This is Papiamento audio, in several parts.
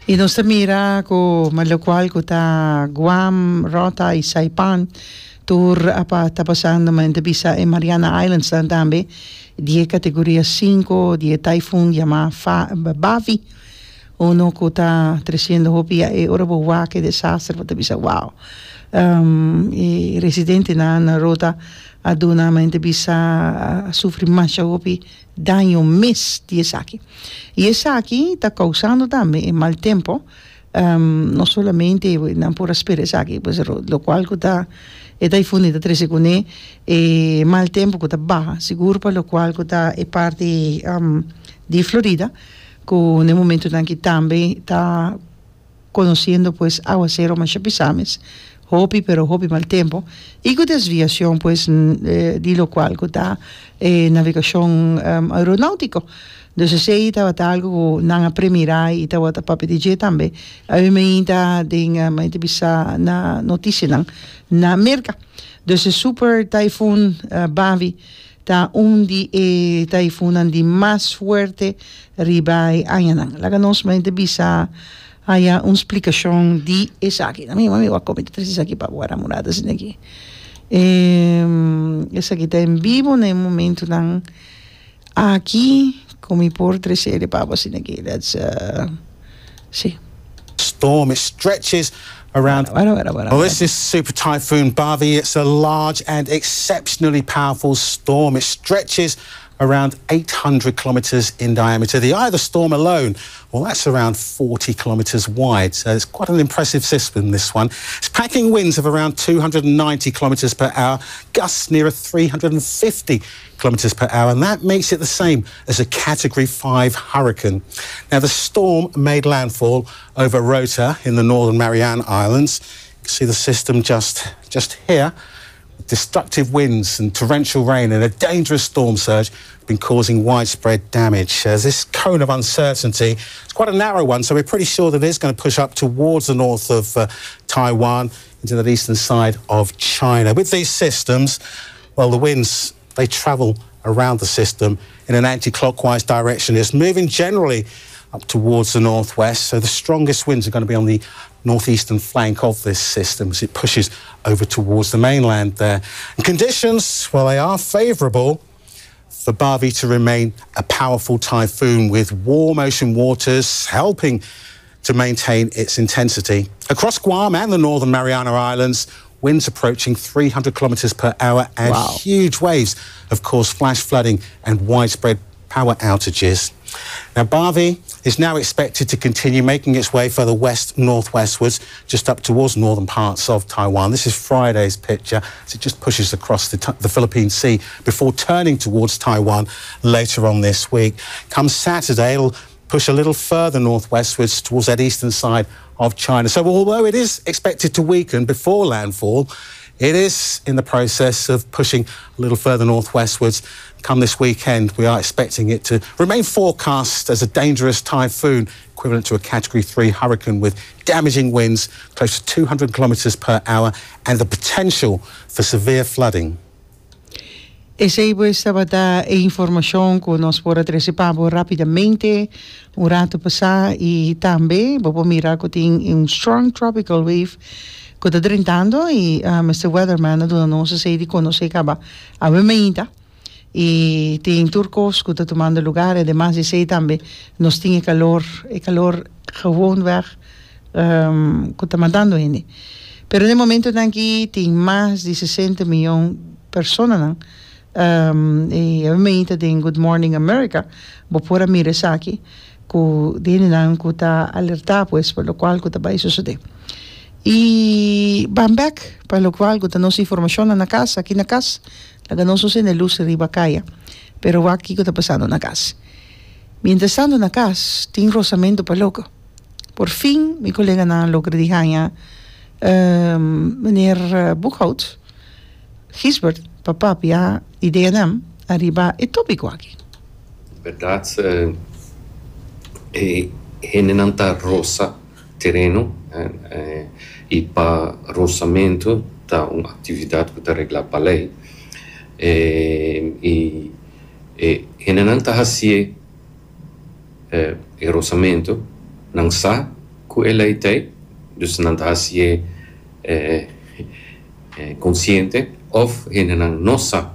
I nos ta mira ku lokual ku ta Guam, Rota i Saipan tur a ta pasando men ta bisa e Mariana Islands nan tambe di e kategoria sinku di e typhoon yama Bavi uno ku ta tresiendo hopi ya e ora bo wak e desaster bo ta bisa wow e residentenan na Rota a duna men ta bisa a sufri masha hopi daño mes di esaki. I esaki ta kousando tambe e mal tempo, no solamente nan por a spera esaki, pues lokual ku ta e taifun ta trese kuné e mal tempo ku ta baha, sigur pa lokual ku ta e parti di Florida ku na e momentunan aki tambe ta. Conociendo pues awacero masha pisa mes, hopi pero hopi mal tempo y cu desviacion pues di locual cu ta e navegacion aeronautico. Dus esey tabata algo cu nan a premira y tabata papia di dje tambe. Awe mainta den mainta bisa na noticianan na Merca. Dus e super typhoon Bavi Ta un di e taifunnan di mas fuerte riba e añanan. Laga nos mente bisa haya un splikashon di esaki. Na mi mami wak komi ta trese esaki pa bo wara murada asina aki. Esaki ta en bibo na e momentunan aki ku mi por trese e pa bo asina aki. Let's see. Storm, it stretches around. Well, this is Super Typhoon Bavi. It's a large and exceptionally powerful storm. It stretches around 800 kilometers in diameter. The eye of the storm alone, well, that's around 40 kilometers wide. So it's quite an impressive system, this one. It's packing winds of around 290 kilometers per hour, gusts nearer 350 kilometers per hour, and that makes it the same as a Category 5 hurricane. Now, the storm made landfall over Rota in the northern Mariana Islands. You can see the system just, just here. Destructive winds and torrential rain and a dangerous storm surge have been causing widespread damage. Uh, this cone of uncertainty is quite a narrow one, so we're pretty sure that it is going to push up towards the north of uh, Taiwan into the eastern side of China. With these systems, well, the winds, they travel around the system in an anti-clockwise direction. It's moving generally up towards the northwest, so the strongest winds are going to be on the northeastern flank of this system as it pushes over towards the mainland there. And conditions, well, they are favourable for Bavi to remain a powerful typhoon with warm ocean waters helping to maintain its intensity. Across Guam and the northern Mariana Islands, winds approaching 300 kilometers per hour and wow. huge waves of course flash flooding and widespread power outages. Now, Bavi is now expected to continue making its way further west northwestwards, just up towards northern parts of Taiwan. This is Friday's picture as it just pushes across the, the Philippine Sea before turning towards Taiwan later on this week. Come Saturday, it'll push a little further northwestwards towards that eastern side of China. So although it is expected to weaken before landfall, it is in the process of pushing a little further northwestwards. Come this weekend, we are expecting it to remain forecast as a dangerous typhoon, equivalent to a Category 3 hurricane with damaging winds close to 200 kilometres per hour and the potential for severe flooding. Esei pues tabata e informashon ku nos por a trese pa bo rápidamente un ratu pasá i tambe bo por mira ku tin un strong tropical wave ku ta drentando i Mister Weatherman a duna nos esei di konosé kaba awe mainta i tin tur kos ku ta tumando lugar ademas di esei tambe nos tin e kalor e kalor gewoonweg ku ta matando hende. Pero den momentonan aki tin mas di sesenta miyon personanan i awe mainta den Good Morning America bo por a mira esaki ku di hendenan ku ta alertá pues pa lokual ku ta bai sosodé. I ban bèk pa lokual ku ta nos informashonnan na kas aki na kas laga nos no sende lus riba kaya pero wak kiko ta pasando na kas. Mientrastanto na kas tin rosamentu pa loko. Por fin mi koleganan a logra di haña meneer Boekhout, Gisbert, pa papia ideanan ariba e topiko aki. Berdad e hendenan ta rosa tereno y pa rosamento ta un actividad cu ta regla pa ley y e hendenan ta hacié. E rosamento, nan sa ku e lei ta ei, dus nan ta hasié konsiente òf hendenan no sa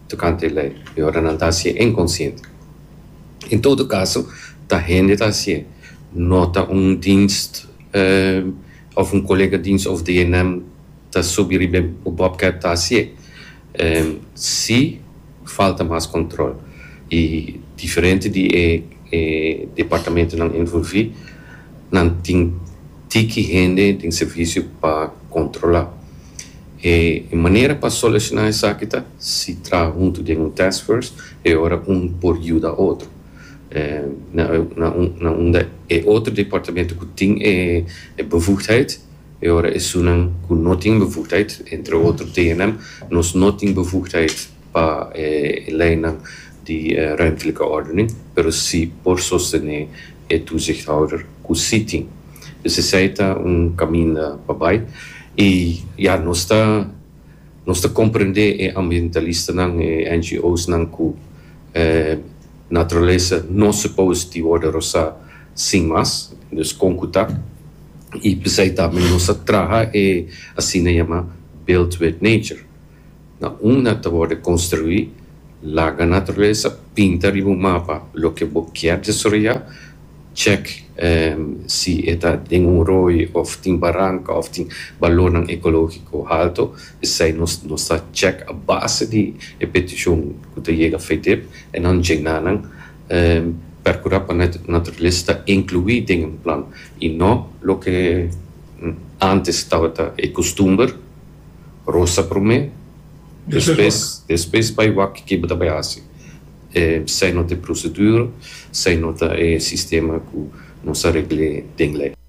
tokante e lei i ora nan ta hasié inkonsiente. En todo kaso ta hende ta hasié, no ta un dienst òf un kolega dienst òf DNM ta subi riba e bobcat ta hasié. Si falta mas control y diferente di e departamentonan envolvi nan tin tiki hende den servicio pa controla. E manera pa soluciona esaki ta si traha hunto den un task force e ora un por yuda otro. Na unda e otro departamento cu tin e bevoegdheid E ora esunnan ku no tin bevoegdheid, entre otro TNM, nos no tin bevoegdheid pa e leinan di ruimtelijke ordening, pero si por sostené e toezichthouder ku si tin. Dus esei ta un kaminda pa bai. I ya, nos ta nos ta komprendé e ambientalistanan, e NGO's-nan ku naturalesa no suppose di wòrdu rosá sin mas, dus kon ku ta. I p'esei tambe nos a traha e asina yama Build with Nature. Na unda ta wòrdu konstruí, laga naturalesa pinta riba un mapa loke bo kier desaroyá, chèk si e ta den un roi òf tin baranka òf tin balornan ekológiko haltu. P'esei nos nos ta chèk a base di e petishon ku ta yega FEDEP en nan djená nan. Percura pa naturalesa ta inclui den un plan y no loke antes tabata e custumber, rosa prome, despues despues bay wak ke bo ta bay haci. Esey no ta e procedura, esey no ta e sistema cu nos a regle den ley.